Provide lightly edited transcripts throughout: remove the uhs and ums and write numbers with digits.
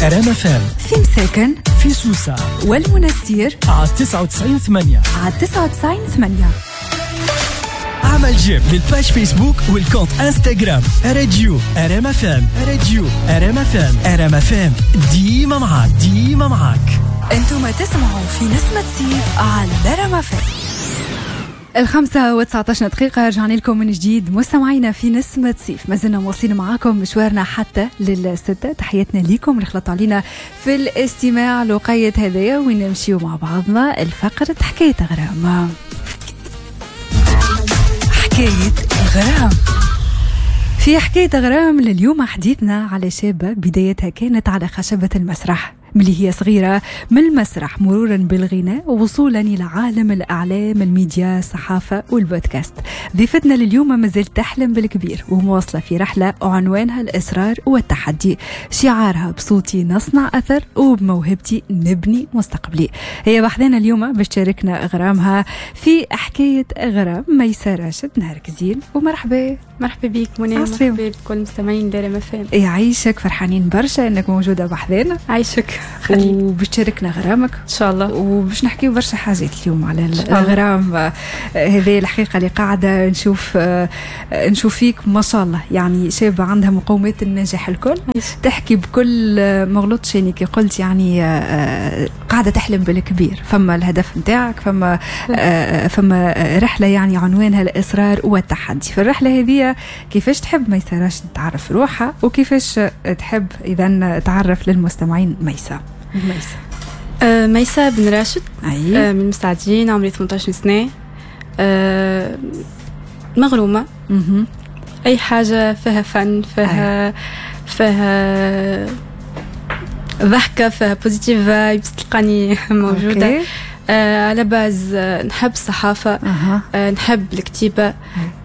ار ام اف ام في مساكن، في سوسة والمنستير على 99.8. على 99.8. اعمل j'aime لل page فيسبوك وال compte انستغرام راديو ار ام اف ام، راديو ار ام اف ام، ار ام اف ام ديما معاك، ديما معاك. انتم تسمعوا في نسمة صيف على ار ام اف ام. 5:19 رجعنا لكم من جديد مستمعينا في نسمة صيف، ما زلنا مواصلين معاكم مشوارنا حتى للستة. تحياتنا ليكم اللي خلطوا علينا في الاستماع لوقية هذايا، وين نمشيو مع بعضنا الفقرة حكاية غرام. حكاية غرام. في حكاية غرام لليوم حديثنا على شابة بدايتها كانت على خشبة المسرح ملي هي صغيرة، من المسرح مرورا بالغناء ووصولا إلى عالم الأعلام، الميديا، الصحافة والبودكاست. ضيفتنا لليوم ما زالت تحلم بالكبير ومواصلة في رحلة عنوانها الإصرار والتحدي، شعارها بصوتي نصنع أثر وبموهبتي نبني مستقبلي. هي بحذانا اليوم باش تشاركنا غرامها في حكاية غرام. ميسة راشد، نهارك زين ومرحبا. مرحبا بك منى، مرحبا بكل مستمعين دار ام اف ام. يعيشك، فرحانين برشا انك موجودة بحذانا. عايشك، وباش تشاركنا غرامك ان شاء الله، وباش نحكيو برشا حاجات اليوم على الغرام. هذه الحقيقة اللي قاعدة نشوف فيك ما شاء الله، يعني شابه عندها مقومات النجاح الكل، تحكي بكل ما غلطش يعني كي قلت يعني قاعدة تحلم بالكبير. فما الهدف نتاعك، فما رحله يعني عنوانها الاصرار والتحدي. في الرحلة هذه كيفاش تحب ميسة راشد تعرف روحها، وكيفاش تحب اذا تعرف للمستمعين ميسة؟ ميسة بن راشد. أي. من المستعدين، عمري 18 سنة، مغرومة. أي حاجة فيها فن، فيها فيها ضحكة، فيها positive vibes تلقاني موجودة. à la base نحب الصحافة، نحب الكتيبة،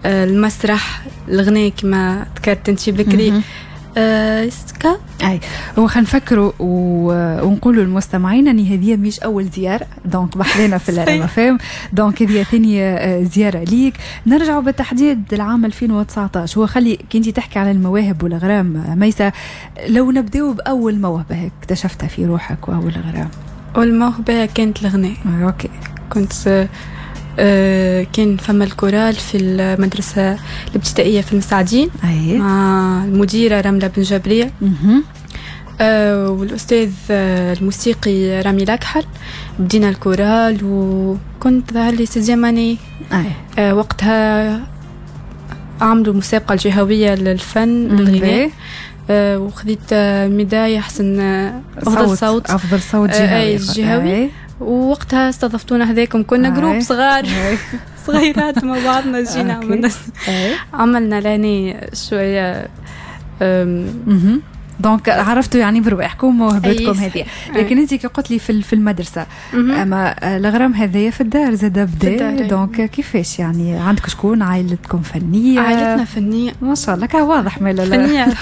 المسرح، الغناء كما ذكرت انت بكري. اي هو خلينا نفكروا ونقولوا للمستمعين ان هذه مش اول زيارة donc بحذانا في الار ام اف ام، donc هذه ثاني زيارة ليك. نرجعوا بالتحديد للعام 2019. هو خلي كي انت تحكي على المواهب والغرام ميسة، لو نبداو باول موهبة اكتشفتها في روحك واول غرام. اول موهبة كانت الغناء. OK. كنت كان فما الكورال في المدرسة الابتدائية في المساعدين. أيه. مع المديرة رملة بن جبرية والأستاذ الموسيقي رامي لكحل. بدينا الكورال وكنت ظهر لي sixième année. أيه. وقتها عملوا مسابقة الجهوية للفن للغناء، وخذيت ميدالية أحسن أفضل صوت، أفضل صوت جهوي. جهوي. ووقتها استضفتونا هذاكم، كنا groupe صغار صغيرات مع بعضنا، جينا عملنا لاني شوية. donc عرفتوا يعني برواحكم موهبتكم هذه. لكن انت كي قلت لي في المدرسة، اما الغرام هذايا في الدار زاد بدا، donc كيفاش يعني عندك شكون عائلتكم فنية؟ عائلتنا فنية ما شاء الله، كان واضح مالا فنية.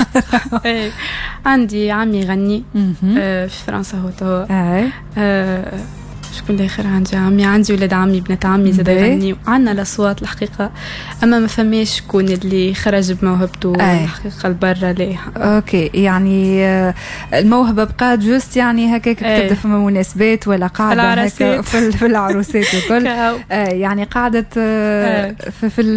عندي عمي يغني في فرنسا هو توا. شكون الاخر عندي عمي، عندي ولاد عمي، بنات عمي زاد يغنيو. عندنا الاصوات الحقيقة، اما ما فماش شكون اللي خرج بموهبته الحقيقة لبرا ليه. OK، يعني الموهبة بقات juste يعني هكاك تبدا فما مناسبات ولا قاعدة هكا في العروسات وكل. يعني قعدت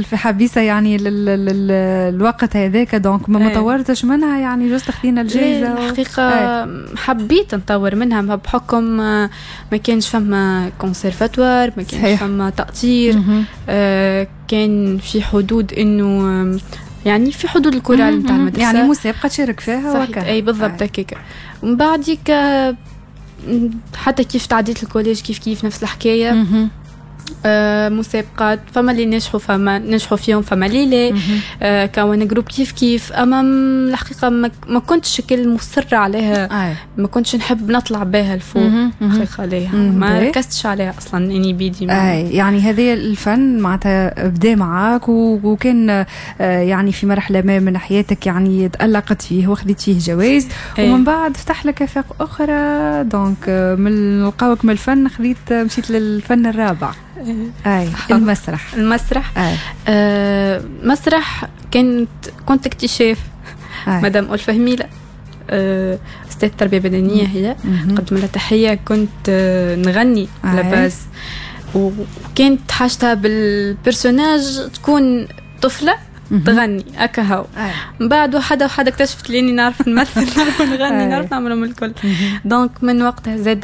في حبيسة يعني الوقت هذاك، donc ما طورتش منها يعني juste خذينا الجائزة. الحقيقة حبيت نطور منها بحكم ما كانش فما كونسيرفاتوار، ما كانش فما تأطير. كان في حدود انه يعني في حدود الكورال نتاع المدرسة، يعني مسابقة تشارك فيها وكا. اي بالضبط هكاك. ومن بعديك حتى كيف تعديت ال collège كيف كيف نفس الحكاية. مسابقات، فما اللي نجحوا، فما نجحوا فيهم، فما اللي لا. كون groupe كيف كيف. اما الحقيقة ما كنتش كل مصرة عليها. ما كنتش نحب نطلع بها الفوق الحقيقة ليها، ما ركزتش عليها اصلا اني بيدي. يعني هذا الفن معناتها بدا معاك وكان يعني في مرحلة ما من حياتك يعني تألقت فيه وخذت فيه جوائز، ومن بعد فتح لك افاق اخرى. donc من لقاوك من الفن خذيت مشيت للفن الرابع. أي المسرح. المسرح. مسرح كنت اكتشاف. مدام ألفة هميلة. استاذ تربيه بدنية، هي قدم لها تحية. كنت نغني à la base، وكانت حاجتها بال personnage تكون طفله تغني هكا هو. من بعد وحده وحده اكتشفت لاني نعرف نمثل، نعرف نغني، نعرف نعملهم الكل. donc من وقتها زاد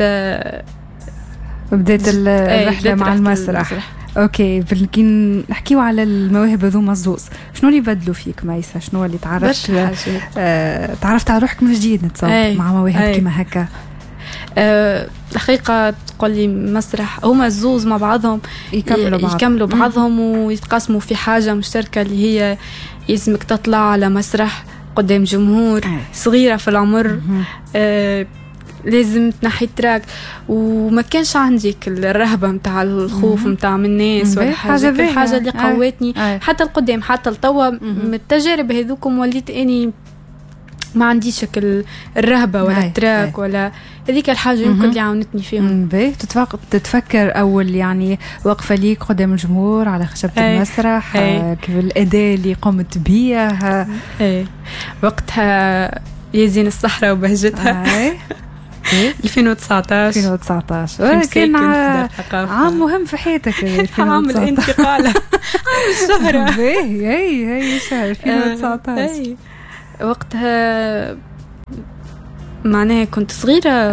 بدات الرحلة مع المسرح. OK، كي نحكيو على المواهب هذوما الزوز، شنو اللي بدلوا فيك ميسة؟ شنو اللي تعرفت تعرفت على روحك من جديد نتصور مع مواهب كيما هكا؟ الحقيقة تقول لي مسرح، هما الزوز مع بعضهم يكملوا بعضهم ويتقاسموا في حاجة مشتركة اللي هي يلزمك تطلع على مسرح قدام جمهور، صغيرة في العمر، لازم تنحي trac. وما كانش عندي الرهبة متاع الخوف متاع من الناس ولا حاجة. الحاجة اللي قوتني حتى القدام حتى التوا من التجارب هذوكم وليت اني ما عنديش الرهبة ولا ال trac ولا هذيك الحاجة يمكن اللي عاونتني فيهم. باهي، تتفكر اول يعني وقفه ليك قدام الجمهور على خشبه المسرح، كيف الاداء اللي قمت بيه؟ وقتها يزين الصحراء وبهجتها 2019. كان عام مهم في حياتك. عام الانتقال، عام الشهرة. باهي، هي شهر 2019. وقتها معناها كنت صغيرة،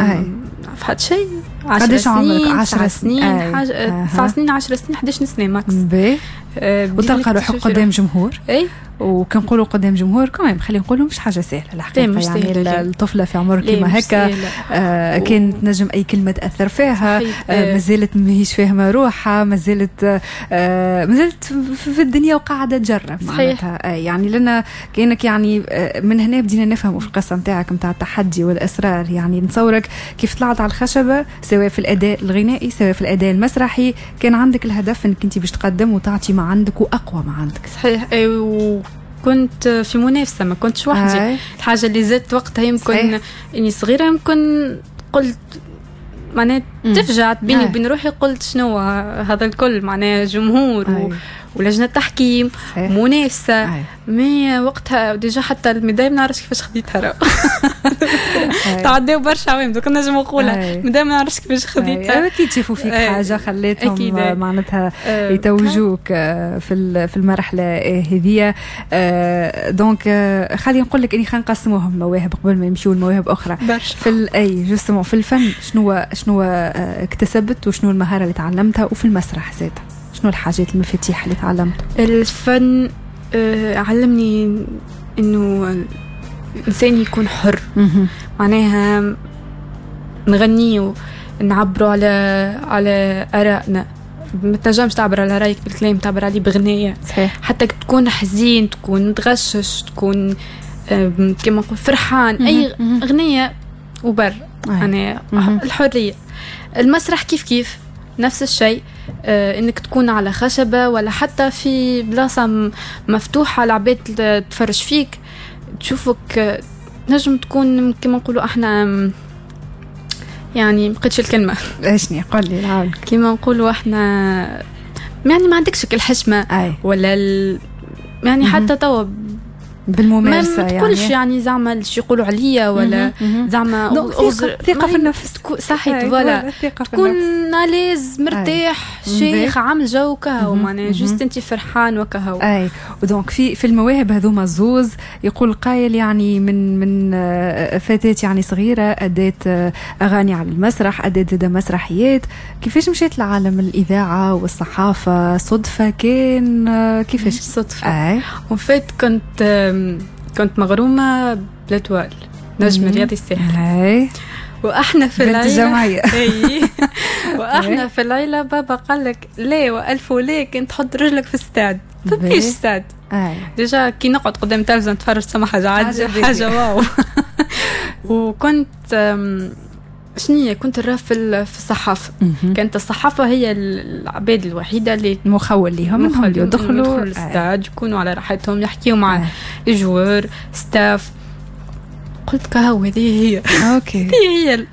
في حد شيء 10 سنين، 10 سنين، حاجة 9 سنين، 10 سنين، 11 سنة max. باهي، وتلقى روحك قدام جمهور. وكنقولوا قدام جمهور كمان خلينا نقولوا مش حاجة سهلة الحقيقة، يعني الطفلة في عمر كيما هكا كانت نجم اي كلمة تاثر فيها، مازالت ماهيش فاهمه روحها، مازالت في الدنيا وقاعدة تجرب معناتها. يعني لنا كانك يعني من هنا بدينا نفهموا في القصة نتاعك نتاع التحدي والاصرار. يعني نتصورك كيف طلعت على الخشبة سواء في الاداء الغنائي سواء في الاداء المسرحي كان عندك الهدف انك انت باش تقدم وتعطي ما عندك واقوى ما عندك. صحيح، كنت في منافسة، ما كنتش وحدي. الحاجة اللي زدت وقتها يمكن إني صغيرة، يمكن قلت معناها تفجعت بيني وبين روحي، قلت شنو هذا الكل، معناها جمهور ولجنة تحكيم، منافسة. mais وقتها déjà حتى ال médaille ما نعرفش كيفاش خديتها، تعداو برشا عوام دوك نجم نقولها، ال médaille ما نعرفش كيفاش خديتها. اكيد شافوا فيك حاجة خليتهم معناتها يتوجوك في المرحلة هذية. donc خلينا نقول لك اني خلينا نقسموهم مواهب قبل ما يمشيو لمواهب اخرى. في اي justement في الفن شنو اكتسبت وشنو المهارة اللي تعلمتها، وفي المسرح زاد شنو الحاجات المفاتيح اللي تعلمتها؟ الفن علمني انه الانسان يكون حر، معناها نغنيه نعبروا على ارائنا. ما تنجمش تعبر على رايك بالكلام، تعبر عليه بغنية. صحيح. حتى تكون حزين، تكون متغشش، تكون كما نقول فرحان، اي اغنية وبر يعني الحرية. المسرح كيف كيف نفس الشيء، انك تكون على خشبة ولا حتى في بلاصة مفتوحة العباد تفرج فيك تشوفك، نجم تكون كما نقولوا احنا يعني بقيتش الكلمة اشني قول لي العون، كما نقولوا احنا يعني ما عندكش الحشمة ولا يعني حتى توا بالممارسة ما تقولش يعني زعما اش يقولوا عليا ولا زعما ثقة في النفس. صحيح، voilà تكون à l'aise مرتاح شيخ عامل جو كهو، معناها juste انت فرحان وكهو. اي و donc في المواهب هذوما زوز يقول قايل يعني من فتاة يعني صغيرة ادت اغاني على المسرح، ادت زاده مسرحيات، كيفاش مشيت لعالم الاذاعة والصحافة؟ صدفة كان كيفاش؟ صدفة en fait كنت مغرومة ب l'Étoile، نجم رياضي الساحل. واحنا في العيلة واحنا في العيلة بابا قال لك لا والف ولا كنت تحط رجلك في الستاد، فماش stade. déjà كي نقعد قدام التلفزيون نتفرج سما حاجة حاجة واو. وكنت شنية كنت نرى في الصحافة. كانت الصحافة هي العباد الوحيدة اللي مخول ليهم يدخلوا الاستاد، يكونوا على راحتهم، يحكيوا مع les joueurs staff. قلت كهو هذه هي. OK هذه هي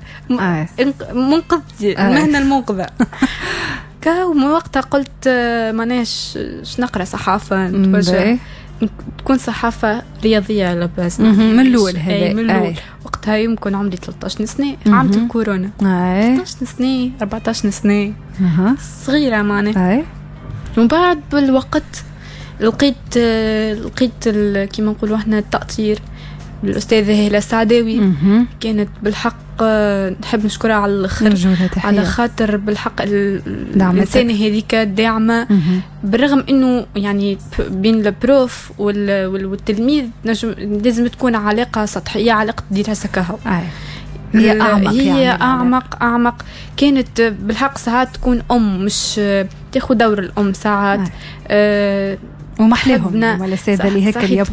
منقذتي، المهنة المنقذة. كهو من وقتها قلت ماناش نقرا صحافة نتوجه. تكون صحافة رياضية على base من الاول هذا، من الاول. وقتها يمكن عمري 13 سنة، عام الكورونا. 13 سنة 14 سنة، صغيرة معناها. ومن بعد بالوقت لقيت كيما نقولوا احنا التأطير الأستاذة هالة السعداوي. كانت بالحق نحب نشكرها على الآخر، على خاطر بالحق الإنسانة هذيك داعمة، بالرغم إنه يعني بين ال prof والتلميذ لازم تكون علاقة سطحية، علاقة دراسة كهو. هي أعمق، هي يعني أعمق. كانت بالحق ساعات تكون أم، مش تاخذ دور الأم ساعات. ومحلاهم الأساتذة اللي هيك اللي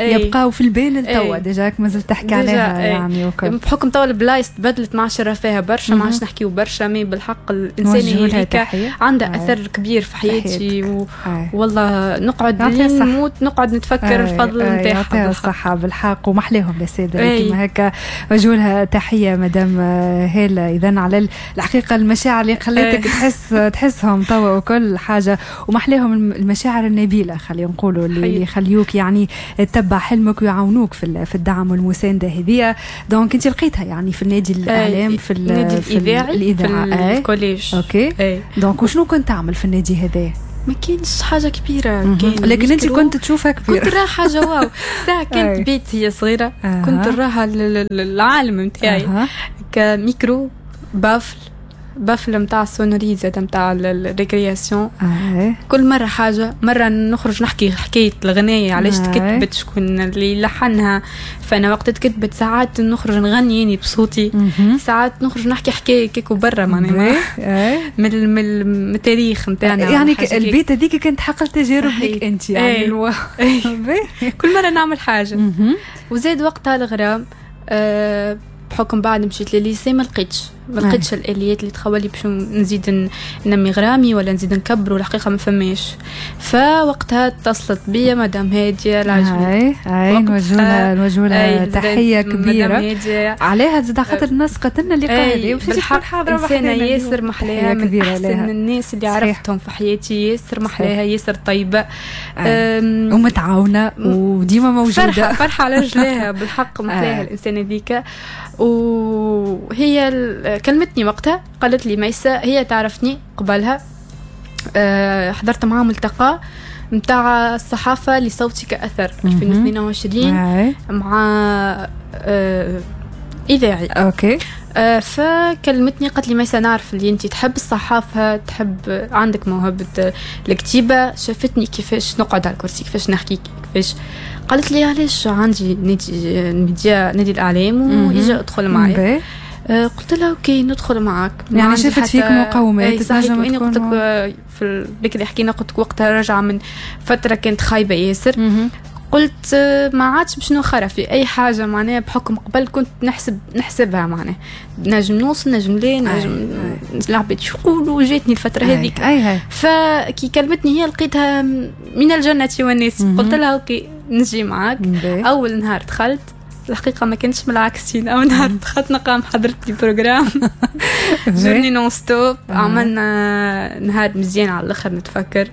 يبقاو في البال لتوا، déjà مازلت تحكي عليها يعني. بحكم توا البلايص تبدلت، ما عادش فيها برشا، ما عادش نحكيو برشا، mais بالحق الإنسانة هذيك عندها أثر كبير في حياتي. والله نقعد نموت نقعد نتفكر الفضل نتاعها. يعطيها الصحة بالحق، ومحلاهم الأساتذة اللي كيما هكا. وجهولها تحية مدام هالة. إذا على الحقيقة المشاعر اللي خلاتك تحسهم توا وكل حاجة، ومحلاهم المشاعر النبيلة خلينا نقولوا، اللي يخليوك يعني تتبع حلمك ويعاونوك في الدعم والمسانده هذه. donc انت لقيتها يعني في النادي الاعلام، في النادي الاذاعي، في ال collège. OK. donc وشنو كنت تعمل في النادي هذا؟ ما كانش حاجة كبيرة، كان لكن انت كنت تشوفها كبيرة. كنت راها حاجة واو. ساعة كانت بيت هي صغيرة، كنت راها العالم نتاعي ك micro baffle نتاع ال sonorisé زاد نتاع ال récréation. كل مرة حاجة، مرة نخرج نحكي حكاية الغنايه علاش تكتبت، شكون اللي لحنها. فانا وقت تكتبت ساعات نخرج نغني يعني بصوتي، ساعات نخرج نحكي حكاية كيكو برا معناها من التاريخ نتاعنا. يعني البيت هذيك كانت حقل تجارب لك انت يعني. كل مرة نعمل حاجة. وزاد وقتها الغرام بحكم بعد مشيت للل lycée ما لقيتش الاليات اللي تخولي باش نزيد ننمي غرامي ولا نزيد نكبر، والحقيقة ما فماش. فوقتها اتصلت بيا مدام هادية العجمي. اي نوجه لها تحية كبيرة عليها، زاد خاطر الناس قتلنا اللقاء هذا وباش تكون حاضره. انسانه ياسر محلاها، من احسن الناس اللي عرفتهم في حياتي، ياسر محلاها، ياسر طيبة ومتعاونه وديما موجودة. فرحه على رجليها بالحق، محلاها الانسانة ذيك. وهي كلمتني وقتها، قالت لي ميسة، هي تعرفني قبلها، حضرت معها ملتقى متاع الصحافة لصوتك أثر 2022 مع إذاعي. OK. فكلمتني قالت لي ميسة، نعرف اللي انت تحب الصحافة، تحب، عندك موهبة الكتيبة. شافتني كيفاش نقعد على الكرسي، كيفاش نحكي، كيفاش. قالت لي علاش عندي نادي الميديا، نادي الإعلام، وإجا ادخل معي. قلت لها OK ندخل معك. يعني شافت فيك مقومات تنجم تكون. قلت لك في بكري حكينا، قلت لك وقتها راجعه من فترة كانت خايبة ياسر. قلت ما عادش باش نخرف في اي حاجة معناها، بحكم قبل كنت نحسبها معناها نجم نوصل، نجم ليه، نجم العباد يقولوا. جاتني الفترة هذيك. فكي كلمتني هي لقيتها من الجنة والناس. قلت لها OK نجي معاك. اول نهار دخلت الحقيقة ما كانتش من العكسين. أول نهار دخلت نقام حضرت لي programme journée non-stop. عملنا نهار مزيان على الآخر نتفكر،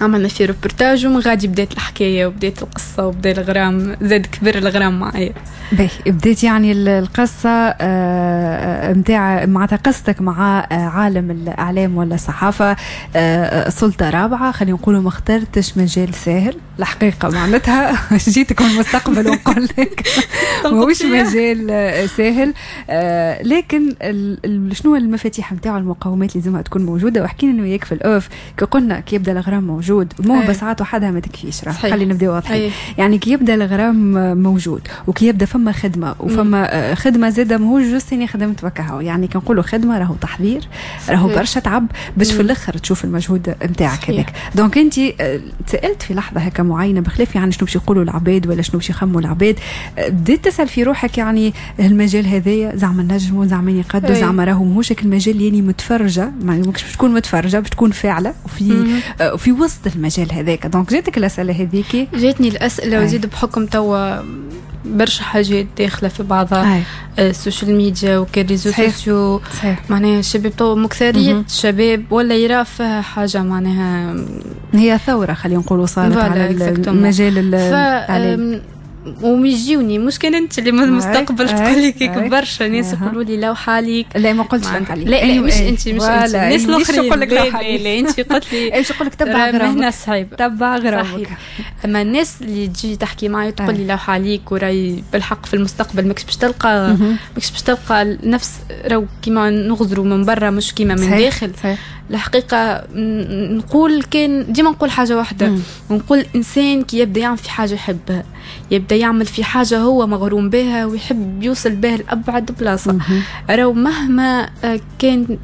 عملنا في روبورتاج، ومن غادي بدات الحكاية وبدات القصة وبدا الغرام، زاد كبر الغرام معايا. باهي، بديت يعني القصة متاع معناتها قصتك مع عالم الإعلام ولا الصحافة، سلطة رابعة خلينا نقولوا. ما اخترتش مجال ساهل الحقيقة، معناتها جيتك من المستقبل ونقول لك ماهوش مجال ساهل، لكن شنو المفاتيح نتاعو، المقومات اللي لازمها تكون موجودة. وحكينا انا وياك في ال off كي قلنا كي يبدا الغرام موجود، الموهبة ساعات وحدها ما تكفيش، راه خلينا نبداو واضحين. يعني كي يبدا الغرام موجود وكي يبدا فما خدمة، وفما خدمة زاده ماهوش juste اني خدمت وكهو. يعني كي نقولوا خدمة راهو تحضير، راهو برشا تعب باش في الاخر تشوف المجهود نتاعك هذاك. donc انت تسالت في لحظة هكا معينة، بخلاف يعني شنو باش يقولوا العباد ولا شنو باش يخموا العباد، بديت تسال في روحك يعني المجال هذايا زعما نجموا، زعما يقدوا، زعما راهو ماهوش المجال اللي يعني متفرجه، يعني ماكش باش تكون متفرجه، باش تكون فاعله وفي وسط المجال هذاك. donc جاتك الاسئلة هذيك؟ جاتني الاسئلة، وزيد بحكم توا برشا حاجات داخله في بعضها، ال social media وكل réseaux sociaux. معناها الشباب تو مكثرية الشباب ولا يرى فيها حاجة، معناها هي ثورة خلينا نقولوا صارت على المجال الاعلامي. وميجيوني مش كان انت اللي من المستقبل تقول لي كيك، برشا ناس يقولوا لي لوحة عليك. لا ما قلتش لوحة عليك. لا لا مش انت، مش انت، الناس الاخرين. نقول لك لوحة عليك؟ لا انت قلت لي. ايش نقول لك؟ تبع غرامك، مهنة صعيبه، تبع غرامك. اما الناس اللي تجي تحكي معي تقول لي لوحة عليك وراي بالحق في المستقبل ماكش باش تلقى، ماكش باش تلقى نفس، راهو كيما نغزروا من برا مش كيما من داخل. الحقيقة نقول كان ديما نقول حاجة واحده، نقول انسان كي يبدا يعمل في حاجة يحبها، يبدا يعمل في حاجة هو مغروم بها ويحب يوصل بها لابعد بلاصة، راهو مهما كان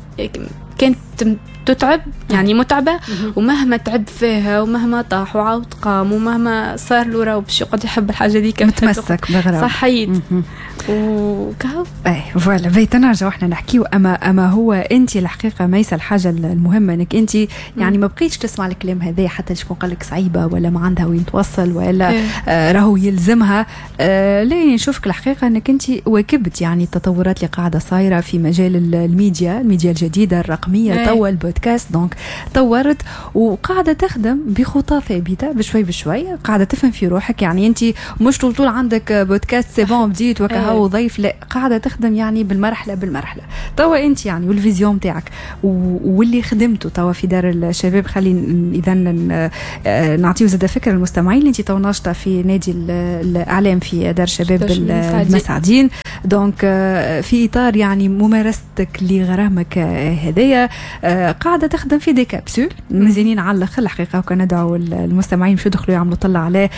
كانت تتعب يعني متعبة، ومهما تعب فيها ومهما طاح وعاود قام ومهما صار له، راهو باش يقعد يحب الحاجة ذيك، متمسك بغرام. صحيت وكهو. اي voilà بيت نرجع احنا نحكيو. اما هو انت الحقيقة ميسة، الحاجة المهمة انك انت يعني ما بقيتش تسمع الكلام هذا حتى شكون قال لك صعيبة ولا ما عندها وين توصل ولا راهو يلزمها. لا نشوفك الحقيقة انك انت واكبت يعني التطورات اللي قاعدة صايرة في مجال الميديا الجديدة الرقمية، توا ال podcast، donc طورت وقاعدة تخدم بخطى ثابتة بشوي بشوي، قاعدة تفهم في روحك. يعني انت مش طول عندك podcast c'est bon بديت وكهو ضيف، لا قاعدة تخدم يعني بالمرحلة بالمرحلة. توا انت يعني وال vision تاعك واللي خدمته توا في دار الشباب، خلي اذا نعطيو زاد فكرة للمستمعين اللي انت توا ناشطة في نادي الاعلام في دار الشباب المسعدين، donc في اطار يعني ممارستك لغرامك هذايا قاعدة تخدم في des capsules مزيانين على الاخر الحقيقه، وكان ندعو المستمعين باش يدخلوا يعملوا طلع عليه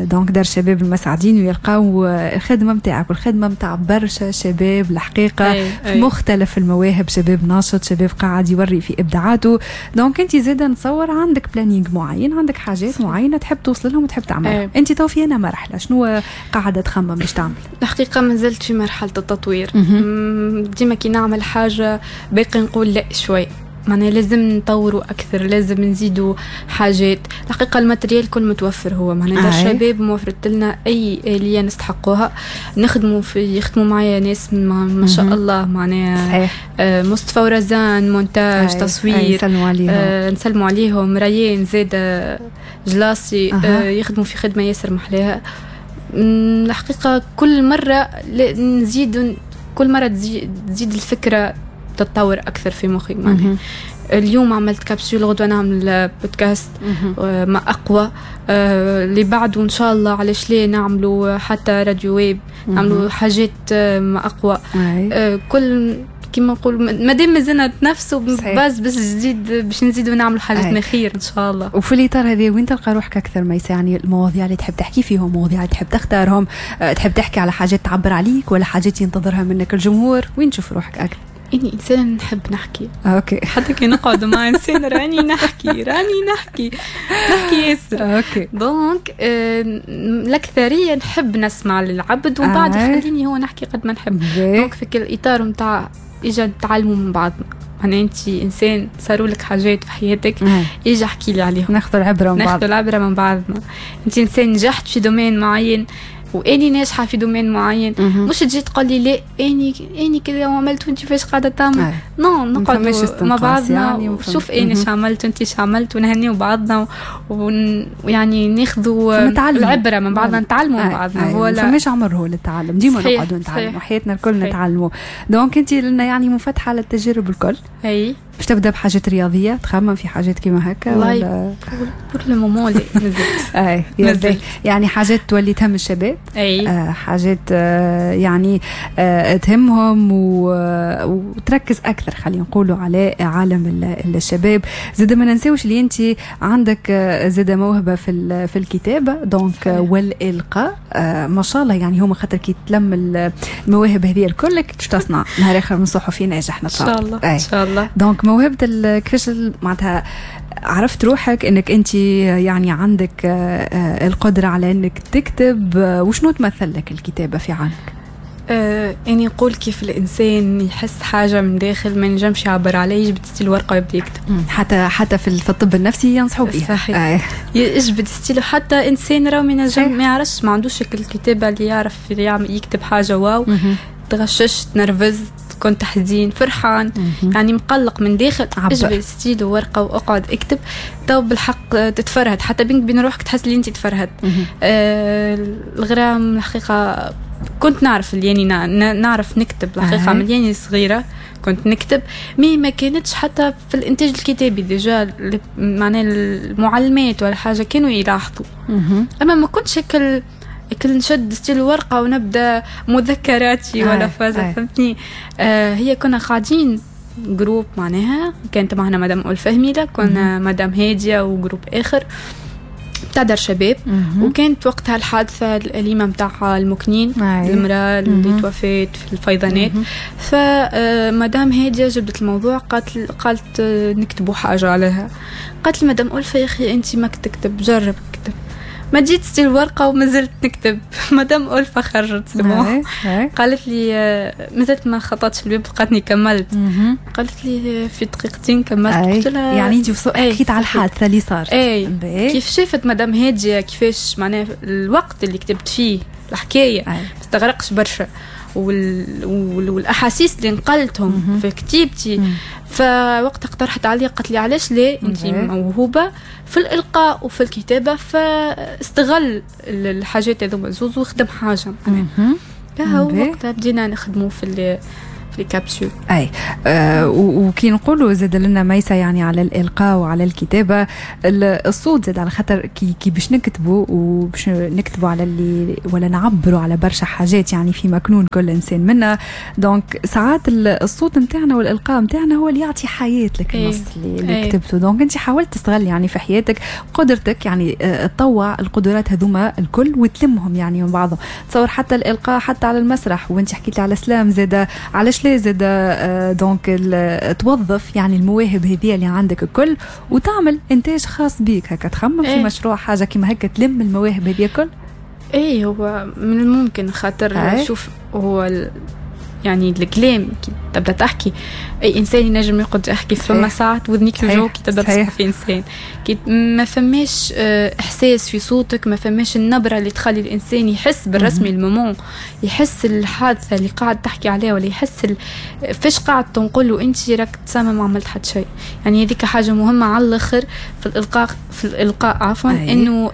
donc دار الشباب المسعدين ويلقاو الخدمة نتاعك والخدمة نتاع برشا شباب الحقيقة. أي. في مختلف المواهب، شباب ناشط، شباب قاعد يوري في ابداعاته. donc انت زاده نتصور عندك planning معين، عندك حاجات معينة تحب توصل لهم وتحب تعملها. انت تو في انا مرحلة شنو قاعدة تخمم باش تعمل؟ الحقيقة مازلت في مرحلة التطوير. ديما كي نعمل حاجة باقي نقول لا شوي، معناها لازم نطوروا اكثر، لازم نزيدوا حاجات. الحقيقة ال matériel كل متوفر، هو معناها دار الشباب موفرت لنا اي آلية نستحقوها. نخدموا في يخدموا معايا ناس ما شاء الله، معناها مصطفى ورزان مونتاج، تصوير، نسلموا عليهم. نسلموا عليهم. ريان زاد جلاسي يخدموا في خدمة ياسر محلاها. الحقيقة كل مرة نزيد، كل مرة تزيد الفكرة تتطور اكثر في مخي. معناها اليوم عملت كابسول، غدوه نعمل بودكاست ما اقوى، اللي بعده ان شاء الله علاش ليه نعملوا حتى راديو ويب، نعملوا حاجات ما اقوى. كل كيما نقول مادام مازلنا نتنافسوا باز باش جديد، باش نزيدوا نعملوا حاجات ما خير ان شاء الله. وفي الاطار هذا وين تلقى روحك اكثر ميسة؟ يعني المواضيع اللي تحب تحكي فيهم، مواضيع اللي تحب تختارهم، تحب تحكي على حاجات تعبر عليك ولا حاجات ينتظرها منك الجمهور، وين تشوف روحك اكثر؟ إني إنسانة نحب نحكي. okay. حتى كي نقعد مع إنسان راني نحكي، راني نحكي ياسر. okay. donc الأكثرية نحب نسمع للعبد ومن بعد يخليني هو نحكي قد ما نحب. donc في كل إطار متاع إجا نتعلموا من بعضنا. معناها أنت إنسان صاروا لك حاجات في حياتك، إجا احكي لي عليهم. ناخذ العبرة من بعض. ناخذ العبرة من بعضنا. أنت إنسان نجحت في domaine معين واني ناجحة في domaine معين، مش تجي تقول لي لا اني كذا وعملت وانت فاش قاعدة تعمل. non نقعد مع بعضنا يعني شوف اني اش عملت وانت اش عملت ونهنيو بعضنا ويعني ناخذوا العبرة من بعضنا، نتعلموا من بعضنا. هو فماش عمر هو للتعلم، ديما نقعدوا نتعلموا حياتنا الكل نتعلموا. donc انت لنا يعني منفتحة على التجارب الكل. اي باش تبدا بحاجات رياضية، تخمم في حاجات كيما هكا ولا pour le moment لا مازلت. اي يعني حاجات تولي تهم الشباب. اي حاجات يعني تهمهم وتركز اكثر خلينا نقولوا على عالم الشباب. زاد ما ننساوش اللي انت عندك زاد موهبة في الكتابة donc والالقاء، ما شاء الله. يعني هما خاطر كي تلم المواهب هذه الكل باش تصنع نهار اخر من صحفي ناجح ان شاء الله. ان شاء الله. donc موهبة كيفاش معناتها عرفت روحك انك انت يعني عندك القدرة على انك تكتب، وشنو تمثل لك الكتابة في عالمك؟ أنا نقول كيف الإنسان يحس حاجة من داخل ما ينجمش يعبر عليه، يجبد ستيل ورقة ويبدا يكتب. حتى في الطب النفسي ينصحوا بها. صحيح. يجبد ستيل، حتى إنسان راهو ما ينجم، ما يعرفش، ما عندوش الكتابة اللي يعرف اللي يكتب حاجة واو. تغششت، نرفزت، كنت حزين، فرحان، يعني مقلق من داخل، اجبد ستيل وورقة واقعد اكتب. تو بالحق تتفرهد، حتى بينك بين روحك تحس اللي انت تفرهد. الغرام الحقيقة كنت نعرف اللي يعني نعرف نكتب الحقيقة من يعني صغيرة كنت نكتب، mais ما كانتش حتى في الانتاج الكتابي déjà، معناه المعلمات ولا حاجة كانوا يلاحظوا. اما ما كنتش هكا نشد ستيل ورقة ونبدا مذكراتي ولا فازة، فهمتني. هي كنا قاعدين groupe، معناها كانت معنا مدام ألفة هميلة، كنا مدام هادية و groupe آخر بتاع دار شباب. وكانت وقتها الحادثة الأليمة متاع المكنين، المرأة اللي توفت في الفيضانات. فمدام هادية جبدت الموضوع، قالت نكتبوا حاجة عليها. قالت لي مدام ألفة يا أخي أنت ما تكتب، جرب اكتب. ما جيت ستيل ورقة وما زلت نكتب. مدام ألفة خرجت سموه، قالت لي مازلت ما خططتش الباب، لقاتني كملت. قالت لي في دقيقتين كملت. قلت لها يعني انت حكيت على الحادثة اللي صارت. كيف شافت مدام هادية كيفاش معناها الوقت اللي كتبت فيه الحكاية ما استغرقش برشا، والاحاسيس اللي نقلتهم في كتيبتي. فوقتها اقترحت علي، قالت لي علاش لا انت موهوبه في الالقاء وفي الكتابة، فاستغل الحاجات هذوما زوز وخدم حاجة. معناها وقتها بدينا نخدموا في les capsules. اي وكي نقولوا زاد لنا ميسة يعني على الالقاء وعلى الكتابة، الصوت زاد على خاطر كي باش نكتبوا وباش نكتبوا على اللي ولا نعبروا على برشا حاجات يعني في مكنون كل انسان منا، donc ساعات الصوت نتاعنا والالقاء نتاعنا هو اللي يعطي حياة لك النص اللي كتبته. donc انت حاولت تستغل يعني في حياتك قدرتك، يعني تطوع القدرات هذوما الكل وتلمهم يعني من بعضهم. تصور حتى الالقاء حتى على المسرح، وانت حكيت لي على slam زاد، علاش لا زاد donc توظف يعني المواهب هذه اللي عندك الكل وتعمل انتاج خاص بيك هكا، تخمم في مشروع حاجة كيما هكا تلم المواهب هذه الكل. اي هو من الممكن، خاطر شوف هو يعني الكلام كي تبدا تحكي اي انسان ينجم يقعد يحكي، فما ساعات وذنيك توجعك كي تبدا تسمع في انسان، كي ما فماش احساس في صوتك، ما فماش النبرة اللي تخلي الانسان يحس بالرسمي ال moment، يحس الحادثة اللي قاعد تحكي عليها، ولا يحس فاش قاعد تنقل له انت راك تسمى ما عملت حتى شيء. يعني هذيك حاجة مهمة على الاخر في الالقاء عفوا، انه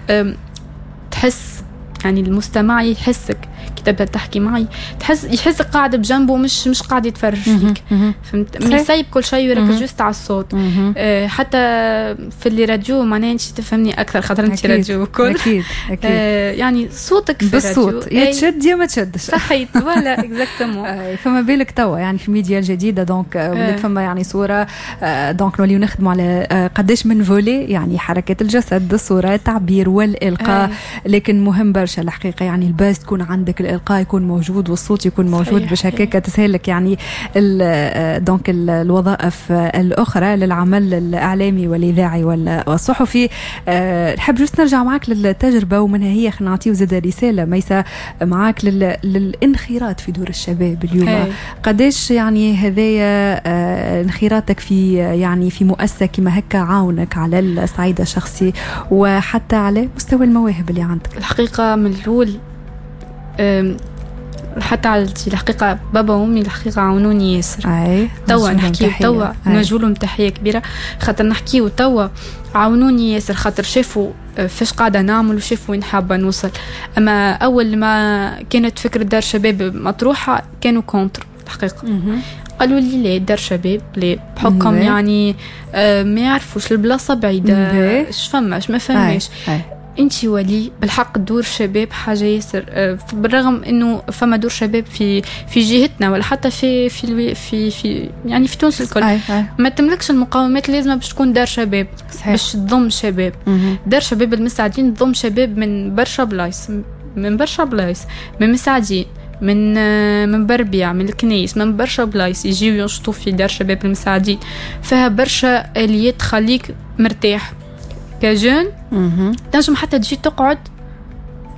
تحس يعني المستمع يحسك كي تبدا تحكي معي، تحس يحسك قاعد بجنبه، مش قاعد يتفرج فيك، فهمت؟ يسيب كل شيء ويركز juste على الصوت. حتى في les radios معناها انت تفهمني اكثر خاطر انت راديو وكل. اكيد اكيد. يعني صوتك في بالصوت يا تشد يا ما تشدش. صحيت voilà exactement. فما بالك توا يعني في الميديا الجديدة، donc ولات فما يعني صوره، donc نوليو نخدموا على قداش من volet، يعني حركات الجسد، الصورة، التعبير والالقاء. لكن مهم برشا الحقيقة يعني ال base تكون عندك، الإلقاء يكون موجود والصوت يكون موجود، باش هكاك تسهلك يعني donc الوظائف الأخرى للعمل الإعلامي والإذاعي والصحفي. نحب juste نرجع معك للتجربة ومنها هي خلينا نعطيو زاد رسالة ميسة معاك للانخراط في دور الشباب اليوم. قداش يعني هذايا انخراطك في يعني في مؤسسة كما هكا عاونك على الصعيد الشخصي وحتى على مستوى المواهب اللي عندك؟ الحقيقة من الأول حتى عائلتي الحقيقة، بابا وأمي الحقيقة عاونوني ياسر. توا نحكيو توا نوجهولهم تحية كبيرة، خاطر نحكيو توا عاونوني ياسر، خاطر شافوا فاش قاعدة نعمل وشافوا وين حابة نوصل. أما أول ما كانت فكرة دار شباب مطروحة كانوا contre الحقيقة. قالوا لي لا دار شباب لا، بحكم يعني ما يعرفوش البلاصة بعيدة، اش فماش ما فماش. انت ولي بالحق دور شباب حاجة ياسر، بالرغم انه فما دور شباب في جهتنا ولا حتى في في في, في يعني في تونس الكل، ما تملكش المقومات اللازمة باش تكون دار شباب. صحيح. باش تضم شباب. دار شباب المساعدين تضم شباب من برشا بلايص، من مساعدين، من بربيع، من الكنيس، من برشا بلايص يجيو ينشطوا في دار شباب المساعدين. فيها برشا اليات تخليك مرتاح ك jeune، تنجم حتى تجي تقعد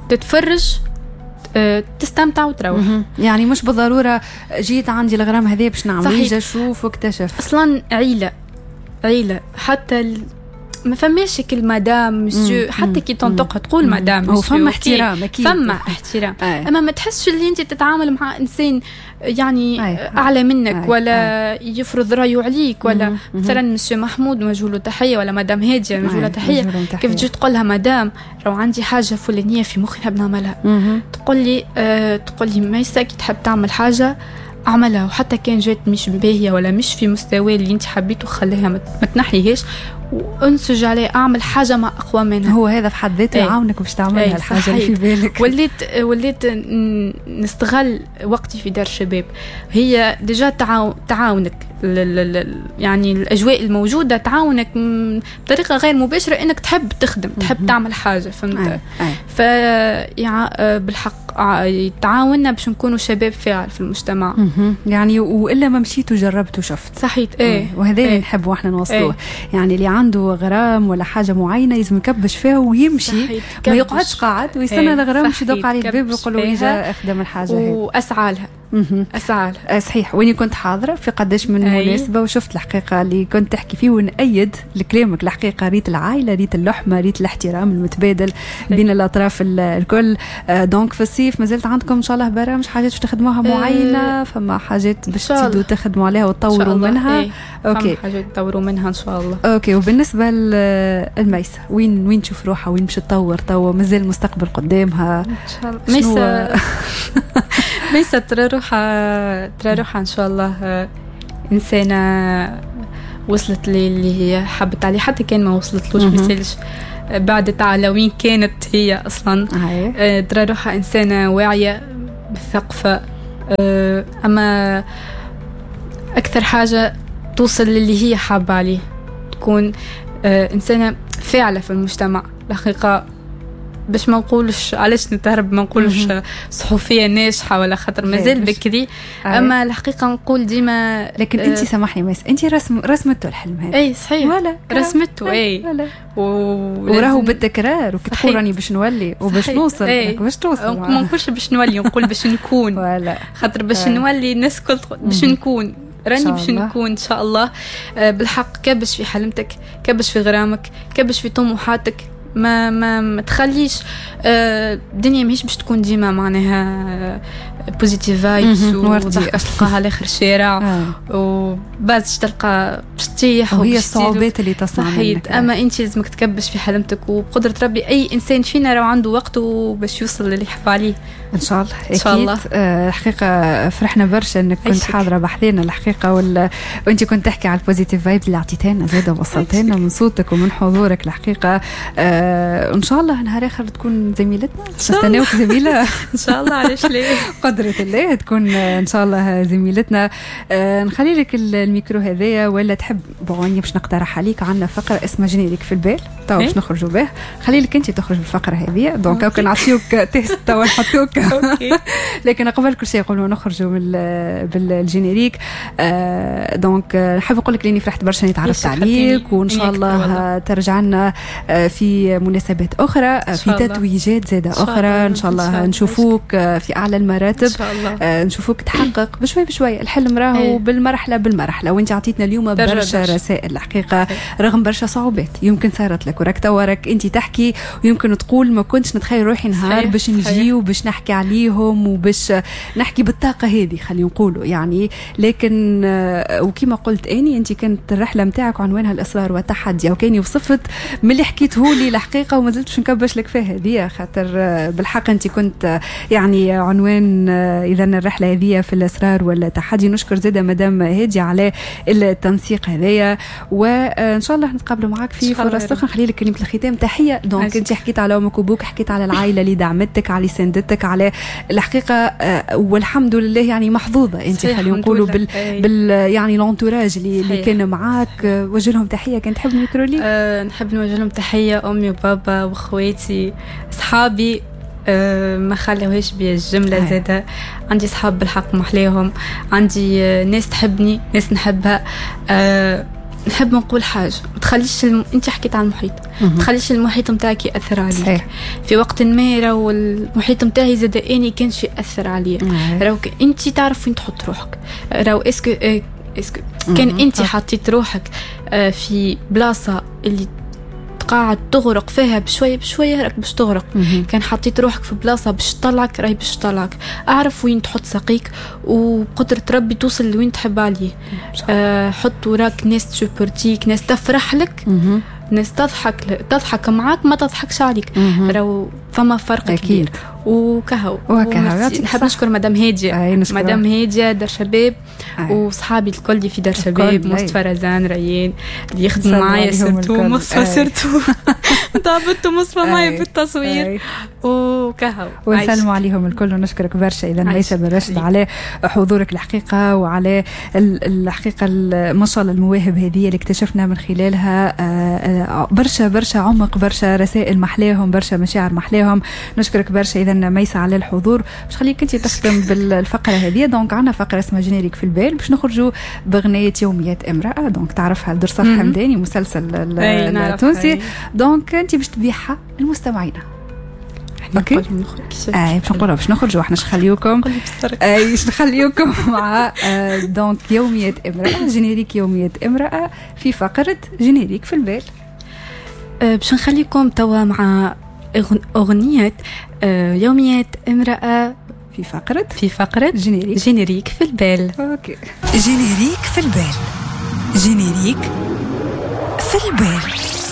تتفرج، تستمتع وتروح. يعني مش بالضرورة جيت عندي الغرام هذا باش نعمل، اجا شوف واكتشف. اصلا عيله حتى ما فماش كل madame monsieur، حتى كي تنطقها تقول madame monsieur، فما احترام اكيد، فما احترام. اما ما تحسش اللي انت تتعامل مع انسان يعني اعلى منك ولا يفرض رايه عليك، ولا مثلا مسيو محمود نوجه له تحية، ولا مدام هادية نوجه لها تحية. كيف تجي تقول لها مدام لو عندي حاجة فلانيه في مخي نحب نعملها، تقول لي ميسا كي تحب تعمل حاجة اعملها، وحتى كان جات مش باهيه ولا مش في مستوى اللي انت حبيته خليها، ما تنحيهاش وانسج عليه، اعمل حاجة ما اقوى منها. هو هذا في حد ذاته يعاونك باش تعملها الحاجة اللي في بالك. وليت نستغل وقتي في دار الشباب، هي déjà تعاونك يعني الاجواء الموجودة تعاونك بطريقة غير مباشرة انك تحب تخدم، تحب تعمل حاجة، فهمت؟ ف بالحق تعاوننا باش نكونوا شباب فاعل في المجتمع. يعني والا ما مشيت وجربت وشفت. صحيح. وهذا اللي نحبه احنا نوصلوه. يعني اللي عنده غرام ولا حاجة معينة لازم يكبش فيها ويمشي، ما يقعدش قاعد ويستنى الغرام باش يدق عليه الباب ويقول له اجا اخدم الحاجة هذه، واسعى لها. اسعى لها. صحيح. واني كنت حاضره في قداش من مناسبة وشفت الحقيقة اللي كنت تحكي فيه، ونأيد لكلامك الحقيقة. ريت العائلة، ريت اللحمة، ريت الاحترام المتبادل بين الاطراف الكل. donc في الصيف مازلت عندكم ان شاء الله برامج، حاجات باش تخدموها معينة، فما حاجات باش تزيدوا تخدموا عليها وتطوروا منها؟ OK، حاجات تطوروا منها ان شاء الله. OK. وبالنسبة للميسه وين تشوف روحها، وين باش تطور توا؟ مازال المستقبل قدامها ان شاء الله. ميسة ترى روحها ان شاء الله انسانه وصلت للي هي حبت عليه، حتى كان ما وصلتلوش ما بعدت على وين كانت هي اصلا. ترى روحها انسانه واعية بالثقافة، اما اكثر حاجة توصل للي هي حابة عليه، تكون انسانه فاعله في المجتمع. الحقيقة باش ما نقولش علاش نتهرب، ما نقولش صحفية ناجحة ولا خاطر مازال بكري، اما الحقيقة نقول ديما. لكن انت سامحني ميس، انت رسمته الحلم هذا. اي صحيح، رسمته. اي وراهو بالتكرار، وكتقول راني باش نولي وباش نوصل، باش توصل. ما نقولش باش نولي، نقول باش نكون. خاطر باش نولي الناس كل باش نكون، راني باش نكون ان شاء الله. بالحق كبش في حلمتك، كبش في غرامك، كبش في طموحاتك، ما ما, ما تخليش الدنيا ماهيش باش تكون ديما معناها positive vibes وضحكه تلقاها على اخر الشارع وباز تلقى باش تطيح، وهي الصعوبات اللي تصنع منك. اما انت لازمك تكبش في حلمتك، وبقدره ربي اي انسان فينا راه عنده وقته باش يوصل للي يحب عليه ان شاء الله. ان شاء الله. الحقيقة فرحنا برشا انك كنت حاضره بحذانا الحقيقة، وانت كنت تحكي على ال positive vibes اللي عطيتها لنا زاده وصلتها لنا من صوتك ومن حضورك الحقيقة. ان شاء الله نهار اخر تكون زميلتنا، نستناوك زميله ان شاء الله. علاش ليه، قدرة الله تكون ان شاء الله زميلتنا. نخلي لك الميكرو هذايا ولا تحب؟ bon باش نقترح عليك، عندنا فقره اسمها générique في البال تو باش نخرجوا به، خلي لك انت تخرج بالفقره هذه. donc كان نعطيوك test تو نحطوك. لكن قبل كل شيء قبل نخرجوا بال générique، donc نحب نقول لك لاني فرحت برشا اني تعرفت عليك، وان شاء الله ترجع لنا في مناسبات اخرى، في تتويجات زاده اخرى ان شاء الله. نشوفوك في اعلى المراتب ان شاء الله، نشوفوك تحقق بشوي بشوي الحلم راهو بالمرحلة بالمرحلة. وانت عطيتنا اليوم برشا رسائل الحقيقة، رغم برشا صعوبات يمكن صارت لك، وراك توا انت تحكي ويمكن تقول ما كنتش نتخيل روحي نهار باش نجي وباش نحكي عليهم وباش نحكي بالطاقة هذه، خلينا نقولوا يعني. لكن وكما قلت اني انت كانت الرحلة نتاعك عنوانها الاصرار والتحدي، وكاني وصفت من اللي حكيته لي الحقيقة وما زلت باش نكبش لك فيها هذه، خاطر بالحق انت كنت يعني عنوان اذا الرحلة هذه في الاصرار والتحدي. نشكر زاده مدام هادي على التنسيق هذايا، وان شاء الله نتقابلوا معاك في فرص اخرى. نخلي لك كلمة الختام، تحية. donc انت حكيت على امك وابوك، حكيت على العائلة اللي دعمتك، على ساندتك، على الحقيقة والحمد لله يعني محظوظة انت، خلينا نقولوا بال يعني l'entourage اللي كان معاك. وجه لهم تحية كان تحب الميكرو لي. نحب نوجه لهم تحية، امي وبابا واخواتي اصحابي، ما خلوهاش بيا الجملة زاده. عندي صحاب بالحق محلاهم، عندي ناس تحبني، ناس نحبها. نحب نقول حاجة، ما تخليش انت حكيت على المحيط، ما تخليش المحيط نتاعك ياثر عليك. صحيح. في وقت ما راهو المحيط نتاعي زاد اني كانش ياثر عليا، راهو انت تعرف وين تحط روحك، راهو est-ce que كان انت حطيت روحك في بلاصة اللي قاعد تغرق فيها بشوية بشوية راك باش تغرق. كان حطيت روحك في بلاصة باش تطلعك راهي باش تطلعك. اعرف وين تحط ساقيك وبقدره ربي توصل لوين تحب عليه. حط وراك ناس تسبورتيك، ناس تفرح لك، ناس تضحك معاك، ما تضحكش عليك. راهو فما فرق كبير. وكهو نحب نشكر مدام هادية، مدام هادية دار شباب، وصحابي الكل اللي في دار شباب، مصطفى رزان ريان اللي يخدموا معايا، surtout مصطفى، surtout تعبت مصطفى معايا في التصوير. وكهو ونسلموا عليهم الكل ونشكرك برشا اذا ميسة بن رشد على حضورك الحقيقة، وعلى الحقيقة ما شاء الله المواهب هذه اللي اكتشفنا من خلالها برشا برشا عمق، برشا رسائل محلاهم، برشا مشاعر محلاهم. نشكرك برشا اذا ميسة على الحضور. باش خليك انت تختم بالفقره هذه. donc عندنا فقره اسمها générique في البال، باش نخرجوا بغنيه يوميات امراة، donc تعرفها درصاف حمداني، مسلسل التونسي. donc انت باش تبيعها للمستمعين. OK اي باش نقولها باش نخرجوا احنا، نخليوكم اي باش نخليوكم مع donc يوميات امراة، générique يوميات امراة في فقره générique في البال. باش نخليكم توا مع أغنية يوميات امرأة في فقرة générique في البال. OK générique في البال، générique في البال.